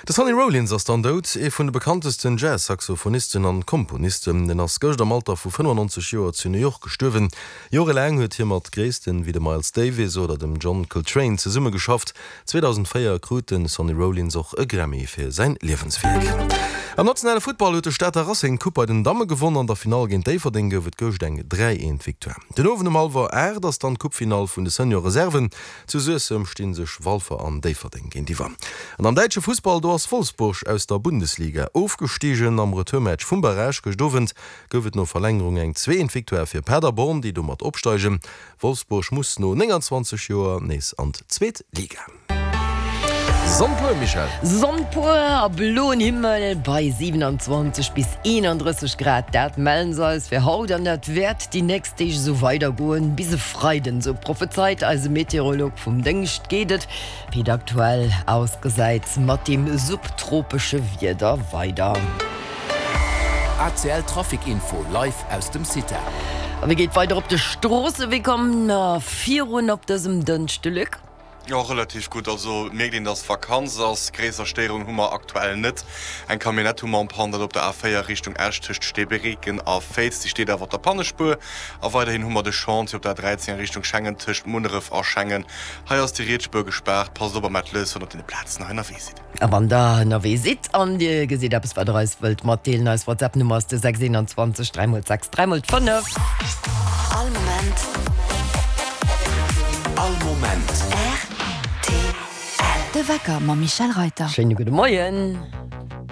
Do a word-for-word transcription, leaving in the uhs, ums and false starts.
De Sonny Rollins ass dann dout, ee vun de bekanntesten Jazz-Saxophonisten an Komponisten. En ass gëscht am Alter vu fënnefannonzeg Joer zu New York gestuerwen. Jorelaang huet hie mat Gréissten wéi dem Miles Davis oder dem John Coltrane zesummegeschafft. zweedausendvéier krut de Sonny Rollins och e Grammy fir säin Liewenswierk. Am nationale Futtball huet de Stater Racing d'Coupe bei den Damme gewonn. An der Finall géint Déifferdeng gouf et gëscht eng dräi eent Victoire. Den Owend um hallwer aacht ass dann d'Coupefinall vun de Senior Reserven. Zu Suessem sti sech Walfer an Déifferdeng géintiwwer. An am däitsche Fussball, do ass Wolfsburg aus der Bundesliga ofgestigen. Am Retourmatch vum Barrage gëscht Owend gouf et no Verlängerung eng zwee eent Victoire fir Paderborn, déi domat opsteigen. Wolfsburg muss no nénganzwanzeg Joer nees an d'zweet Liga. Sonn pur, Michèle. Sonn pur a bloen Himmel bei siewenanzwanzeg bis eenandrësseg Grad, dat mellen se eis fir haut an dat wäert déi nächst Deeg esou weidergoen bis e Freiden, esou prophezeit eise Meteorolog vum Déngscht. Geet et, wéi et aktuell ausgesäit, mat deem subtropesche Wieder weider. A C L Trafic Info live aus dem CITA. A wéi geet weider op de Stroosse? Wéi kommt mer virun op dësem Dënschde, Luc? Jo, relativ gutt. Also et mierkt een, dass Vakanz ass. Gréisser Stéierungen hu mer aktuell net. Eng Camionnette hu mer en panne, dat op der A véier Richtung Esch tëscht Steebereken a Féiz. Déi steet awer op der Pannespuer. A weiderhin hu mer de Chantier op der A dräizéng a Richtung Schengen tëscht Munneref a Schengen. Hei ass déi riets Spuer gespaart. Passt op a mellt lues, wann der op deene Plazen hei ënnerwee sidd. A wann der ënnerwee sidd an dir gesitt eppes, wat der eis wëllt matdeelen, eis WhatsApp-Nummer ass de sechs eenanzwanzeg dräi mol sechs dräi mol fënnef. All Moment. All Moment. R T L. De Wecker mam Michèle Reyter. Schéine gudde Moien.